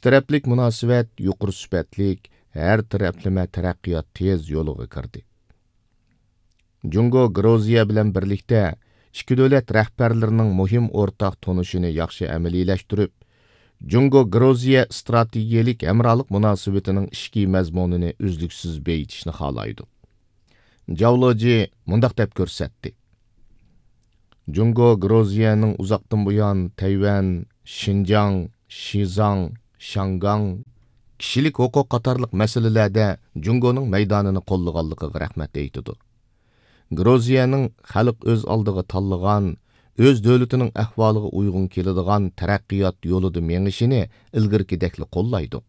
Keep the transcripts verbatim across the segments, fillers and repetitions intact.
تەرەپلىك مۇناسىۋەت يۇقىرى سۈپەتلىك، ھەر تەرەپلىمە تەرەققىيات تېز يولىغا كىردى. جۇڭگو گرۇزىيە بىلەن بىرلىكتە ئىككى دۆلەت رەھبەرلىرىنىڭ مۇھىم ئورتاق تونۇشىنى ياخشى ئەمەلىيلەشتۈرۈپ، جۇڭگو گرۇزىيە ئىستراتېگىيەلىك ھەمراھلىق مۇناسىۋىتىنىڭ ئىچكى مەزمۇنىنى ئۈزلۈكسىز بېيىتىشنى خالايدۇ. جاۋ لېجى مۇنداق دەپ كۆرسەتتى: جۇڭگو گرۇزىيەنىڭ ئۇزاقتىن بۇيان تەيۋەن، شىنجاڭ، شىزاڭ، شياڭگاڭ، كىشىلىك ھوقۇق قاتارلىق مەسىلىلەردە جۇڭگونىڭ مەيدانىنى قوللىغانلىقىغا رەھمەت ئېيتىدۇ. گرۇزىيەنىڭ خەلق ئۆز ئالدىغا تاللىغان، ئۆز دۆلىتىنىڭ ئەھۋالىغا ئۇيغۇن كېلىدىغان تەرەققىيات يولىدا مېڭىشىنى ئىلگىرىكىدەكلا قوللايدۇ.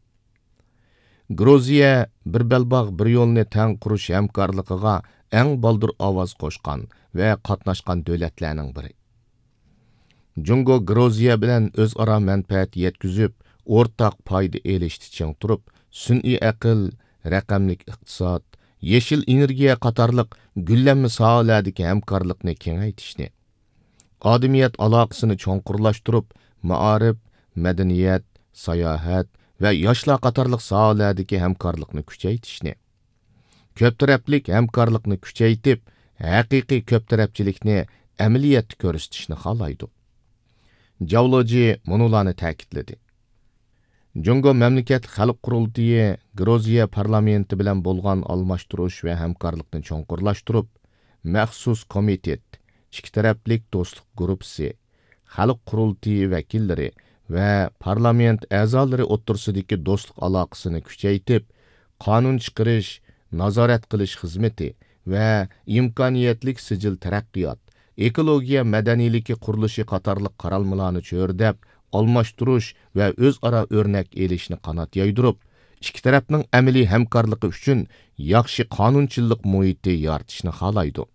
گرۇزىيە بىر بەلباغ، بىر يولنى تەڭ قۇرۇش ھەمكارلىقىغا ئەڭ بالدۇر ئاۋاز قوشقان ۋە قاتناشقان دۆلەتلەرنىڭ بىرى. جۇڭگو گرۇزىيە بىلەن ئۆزئارا مەنپەئەت يەتكۈزۈپ، ئورتاق پايدا ئېلىشتا چىڭ تۇرۇپ، سۈنئىي ئەقىل، رەقەملىك ئىقتىساد، يېشىل ئېنېرگىيە قاتارلىق گۈللەنمە ساھەلەردىكى ھەمكارلىقنى كېڭەيتىشنى، ئادەمىيەت ئالاقىسىنى چوڭقۇرلاشتۇرۇپ، مائارىپ، مەدەنىيەت، ساياھەت ۋە ياشلار قاتارلىق ساھەلەردىكى ھەمكارلىقنى كۈچەيتىشنى، كۆپ تەرەپلىك ھەمكارلىقنى كۈچەيتىپ، ھەقىقىي كۆپ تەرەپچىلىكنى ئەمەلىيەتتە كۆرسىتىشنى خالايدۇ. جاۋ لېجى مۇنۇلارنى تەكىتلىدى: جۇڭگو مەملىكەتلىك خەلق قۇرۇلتىيى گرۇزىيە پارلامېنتى بىلەن بولغان ئالماشتۇرۇش ۋە ھەمكارلىقنى چوڭقۇرلاشتۇرۇپ، مەخسۇس كومىتېت، ئىككى تەرەپلىك دوستلۇق گۇرۇپپىسى، خەلق قۇرۇلتىيى ۋەكىللىرى ۋە پارلامېنت ئەزالىرى ئوتتۇرىسىدىكى دوستلۇق ئالاقىسىنى كۈچەيتىپ، قانۇن چىقىرىش، نازارەت قىلىش خىزمىتى ۋە ئىمكانىيەتلىك سىجىل تەرەققىيات، ئېكولوگىيە مەدەنىيلىكى قۇرۇلۇشى قاتارلىق قارالمىلارنى چۆرىدەپ، ئالماشتۇرۇش ۋە ئۆزئارا ئۆرنەك ئېلىشنى قانات يايدۇرۇپ، ئىككى تەرەپنىڭ ئەمەلىي ھەمكارلىقى ئۈچۈن ياخشى قانۇنچىلىق مۇھىتى يارىتىشنى خالايدۇ.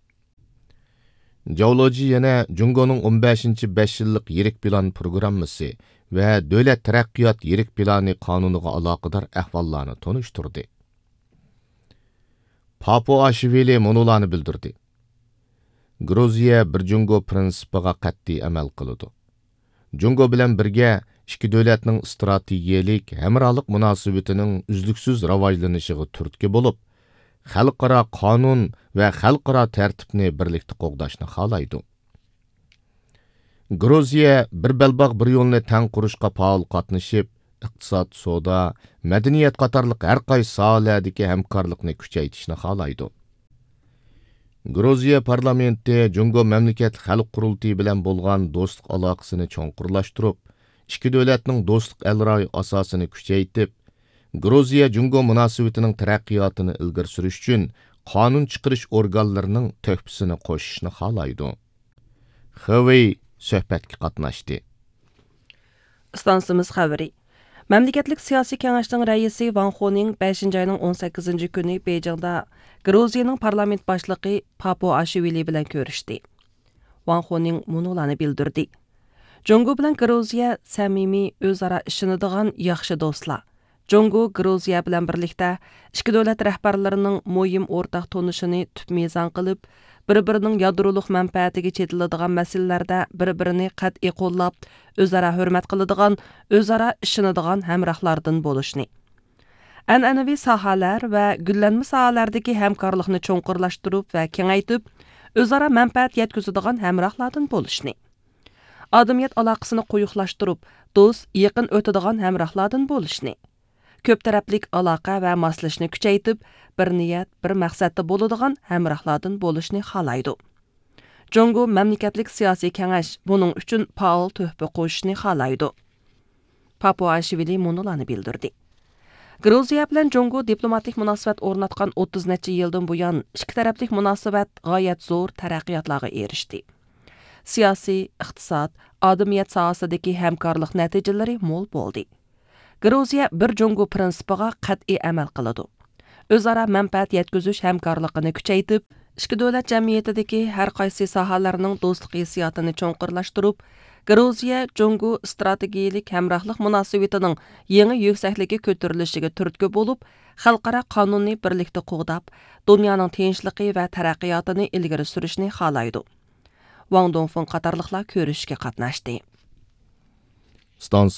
جاۋ لېجى يەنە جۇڭگونىڭ ئون بەشىنچى بەش يىللىق يىرىك پىلان پروگراممىسى ۋە دۆلەت تەرەققىيات يىرىك پىلانى قانۇنىغا ئالاقىدار ئەھۋاللارنى تونۇشتۇردى. پاپۇئاشۋىلى مۇنۇلارنى بىلدۈردى: گرۇزىيە بىر جۇڭگو پىرىنسىپىغا قەتئىي ئەمەل قىلىدۇ. جۇڭگو بىلەن بىرگە ئىككى دۆلەتنىڭ ئىستراتېگىيەلىك ھەمراھلىق مۇناسىۋىتىنىڭ ئۈزلۈكسىز راۋاجلىنىشىغا تۈرتكە بولۇپ، خەلقئارا قانۇن ۋە خەلقئارا تەرتىپنى بىرلىكتە قوغداشنى خالايدۇ. گرۇزىيە بىر بەلباغ، بىر يولنى تەڭ قۇرۇشقا پائال قاتنىشىپ، ئىقتىساد، سودا، مەدەنىيەت قاتارلىق ھەر قايسى ساھەلەردىكى ھەمكارلىقنى كۈچەيتىشنى خالايدۇ. گرۇزىيە پارلامېنتى جۇڭگو مەملىكەتلىك خەلق قۇرۇلتىيى بىلەن بولغان دوستلۇق ئالاقىسىنى چوڭقۇرلاشتۇرۇپ، ئىككى دۆلەتنىڭ دوستلۇق ئەلراي ئاساسىنى كۈچەيتىپ، گرۇزىيە جۇڭگو مۇناسىۋىتىنىڭ تەرەققىياتىنى ئىلگىرى سۈرۈش ئۈچۈن قانۇن چىقىرىش ئورگانلىرىنىڭ تۆھپىسىنى قوشۇشنى خالايدۇ. خېۋېي سۆھبەتكە قاتناشتى. ئىستانسىمىز خەۋىرى. مەملىكەتلىك سىياسىي كېڭەشنىڭ رەئىسى ۋاڭ خۇنىڭ بەشىنچى ئاينىڭ ئون سەككىزىنچى كۈنى بېيجىڭدا گرۇزىيىنىڭ پارلامېنت باشلىقى پاپۇئاشۋىلى بىلەن كۆرۈشتى. ۋاڭ خۇنىڭ مۇنۇلارنى بىلدۈردى: جۇڭگو بىلەن گرۇزىيە سەمىمىي، ئۆزئارا ئىشىنىدىغان ياخشى دوستلار. جۇڭگو گرۇزىيە بىلەن بىرلىكتە ئىككى دۆلەت رەھبەرلىرىنىڭ مۇھىم ئورتاق تونۇشىنى تۈپ مىزان قىلىپ، بىر-بىرىنىڭ يادرولۇق مەنپەئەتىگە چېتىلىدىغان مەسىلىلەردە بىر-بىرىنى قەتئىي قوللاپ، ئۆزئارا ھۆرمەت قىلىدىغان، ئۆزئارا ئىشىنىدىغان ھەمراھلاردىن بولۇشنى، ئەنئەنىۋى ساھەلەر ۋە گۈللەنمە ساھەلەردىكى ھەمكارلىقنى چوڭقۇرلاشتۇرۇپ ۋە كېڭەيتىپ، ئۆزئارا مەنپەئەت يەتكۈزىدىغان ھەمراھلاردىن بولۇشنى، ئادەمىيەت ئالاقىسىنى قويۇقلاشتۇرۇپ، دوست، يېقىن ئۆتىدىغان ھەمراھلاردىن بولۇشنى، كۆپ تەرەپلىك ئالاقە ۋە ماسلىشىشنى كۈچەيتىپ، بىر نىيەت، بىر مەقسەتتە بولىدىغان ھەمراھلاردىن بولۇشنى خالايدۇ. جۇڭگو مەملىكەتلىك سىياسىي كېڭەش بۇنىڭ ئۈچۈن پائال تۆھپە قوشۇشنى خالايدۇ. پاپۇئاشۋىلى مۇنۇلارنى بىلدۈردى: گرۇزىيە بىلەن جۇڭگو دىپلوماتىك مۇناسىۋەت ئورناتقان ئوتتۇز نەچچە يىلدىن بۇيان، ئىككى تەرەپلىك مۇناسىۋەت غايەت زور تەرەققىياتلارغا ئېرىشتى. سىياسىي، ئىقتىساد، ئادەمىيەت ساھەسىدىكى ھەمكارلىق نەتىجىلىرى مول بولدى. گرۇزىيە بىر جۇڭگو پىرىنسىپىغا قەتئىي ئەمەل قىلىدۇ. ئۆزئارا مەنپەئەت يەتكۈزۈش ھەمكارلىقىنى كۈچەيتىپ، ئىككى دۆلەت جەمئىيىتىدىكى ھەر قايسى ساھەلەرنىڭ دوستلۇق ھېسسىياتىنى چوڭقۇرلاشتۇرۇپ، گرۇزىيە جۇڭگو ئىستراتېگىيەلىك ھەمراھلىق مۇناسىۋىتىنىڭ يېڭى يۈكسەكلىككە كۆتۈرۈلۈشىگە تۈرتكە بولۇپ، خەلقئارا قانۇننى بىرلىكتە قوغداپ، دۇنيانىڭ تىنچلىقى ۋە تەرەققىياتىنى ئىلگىرى سۈرۈشنى خالايدۇ. ۋاڭ دۇڭفېڭ قاتارلىقلار كۆرۈشۈشكە قاتناشتى. ئىستانسا